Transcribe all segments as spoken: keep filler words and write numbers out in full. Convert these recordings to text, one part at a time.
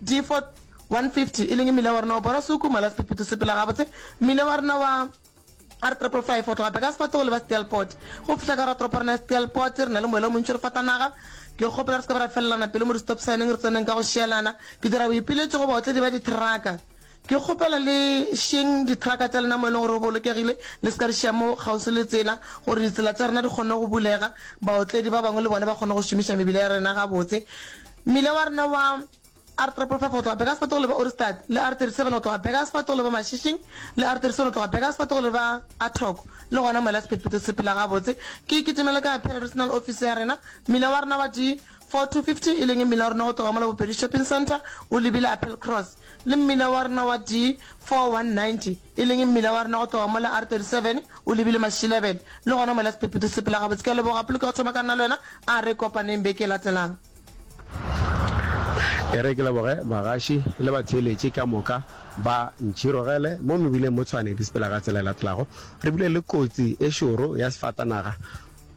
D four one fifty e leng mmila wa rena wa Borasuku, mola sephethephethe se sepela gabotse. Mmila wa rena wa R triple five go tloga Burgersfort go leba Steelpoort. Go fihla ka ratoropo rena ya Steelpoort re na le moela o montši re fatanaga. Ke kgopela re se ke ba ra felelana pelo mo di-stop sign-eng re tseneng ka go šielana. Ke dira boipiletšo go baotledi ba dithraka. Ke kgopela le šieng dithraka tša lena mo e leng gore go bolokegile, le se ka di šia mo kgauswi le tsela gore ditsela tša rena di kgone go bulega, baotledi ba bangwe le bona ba kgone go šomiša mebila ya rena gabotse. Mmila wa rena wa R triple five go tloga Burgersfort go leba Ohrigstad le R thirty seven go tloga Burgersfort go leba Mashishing le R thirty seven go tloga Burgersfort go leba Athoko le gona mola sephethephethe se sepela gabotse. Ke kitimela ka Paarl Regional Office ya rena. Mmila wa rena wa D four two fifty e leng mmila wa rena go tloga mola Bopedi Shopping Centre o lebile Appel Cross le mmila wa rena wa D four one ninety e leng mmila wa rena go tloga mola R thirty seven o lebile Mashilebele le gona mola sephethephethe se sepela gabotse. Ke a leboga Polokego thoma ka nna le wena a re kopaneng beke e latelang. E re ke leboge bagaši le batheeletši ka moka ba ntšhirogele mo mebileng mo Tshwane di sepela ka tsela e latelago. Re bile le kotsi e šoro ya sefatanaga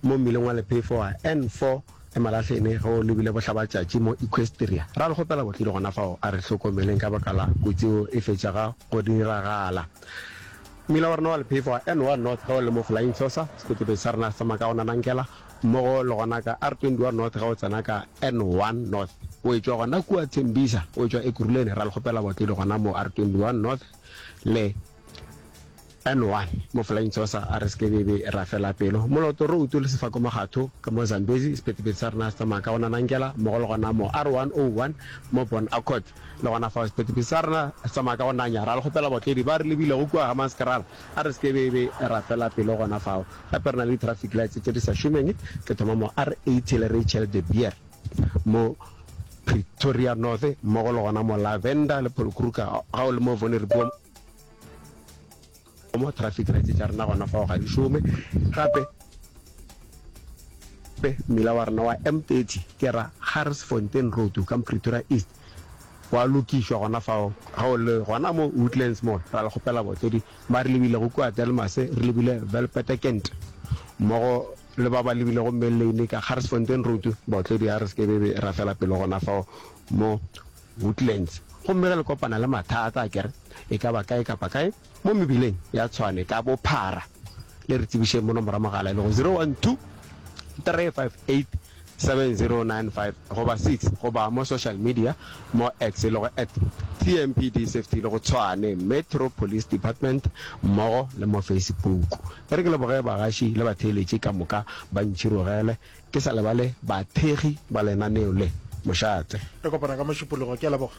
mo mmileng wa lephefo wa N four Emalahleni ge o lebile bohlabatšatši mo Equestria. Ra le kgopela botlile gona fao a re hlokomeleng ka baka la kotsi yeo e fetšaga go diragala. Mmila wa rena wa lephefo wa N one North ge o le mo Flying Saucer, sephethephethe sa rena se tsamaya ka go nanankela mmogo le gona ka R twenty one North ge o tsena ka N one North o etšwa gona kua Tembisa o etšwa Ekurhuleni ra le kgopela baotledi gona mo R twenty one North le N one mo Flying Saucer a re se ke be be ra fela pelo. Moloto Road le Sefako Makgatho ka mo Zambezi sephethephethe sa rena se tsamaya ka go nanankela mmogo le gona mo R one oh one mo Bon Accord le gona fao sephethephethe sa rena se tsamaya ka go nanya ra le kgopela baotledi ba re lebilego kua Hammanskraal a re se ke be be ra fela pelo gona fao. Gape re na le di-traffic lights tše di sa šomeng, ke thoma mo R eighty le Rachel de Beer mo Pretoria North mmogo le gona mo Lavender le Paul Kruger ga o le mo Vonderboom mo traffic lights tša rena gona fao ga di šome. Gape mmila wa rena wa M thirty ke ra Garsfontein Road ka Pretoria East wa lokišwa gona fao ga o le gona mo Woodlands Mall. Ra le kgopela baotledi ba re lebilego kua Delmas, re lebile Velpetekent mmogo le ba ba lebilego Main Lane ka Garsfontein Road, baotledi a re se ke be be ra fela pelo gona fao mo Woodlands. Gomme ge le kopana le mathata a kere e ka ba kae kapa kae mo mebileng ya Tshwane ka bophara, le re tsebišeng mo nomoro ya mogala e lego zero one two three five eight seven zero nine five goba six goba mo social media mo X e lego at T M P D Safety e lego Tshwane Metro Police Department mmogo le mo Facebook. E re ke leboge bagaši le batheeletši ka moka ba ntšhirogele, ke sa lebale bathekgi ba lenaneo le. Mošate. Re kopana ka Mošupologo. Ke a leboga.